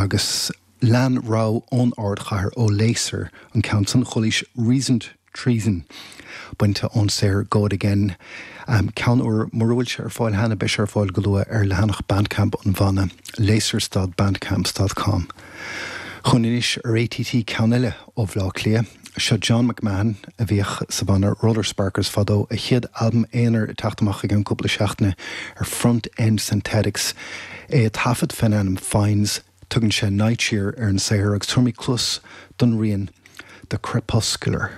Agus lean rogha ón ardchathair ó Laser, an ceann san Chulaois Reasoned Treason, bainte ón saothar Go It Again, ceann úr, mura bhfuil sé ar fáil cheana, beidh sé ar fáil go luath ar leathanach Bandcamp an bhanna, laser.bandcamp. com. Chugainn anois ar ATT ceann eile ó Bhleá Cliath. Seo John McMahon, a bhíodh sa bhanna Roller Sparkers fadó, a chéad albam aonair ag teacht amach i gceann cúpla seachtaine ar Front End Synthetics. É ag taifead fén ainm Fines, tugann sé Nightshear ar an saothar agus tabharfaimid cluas don rian The Crepuscular.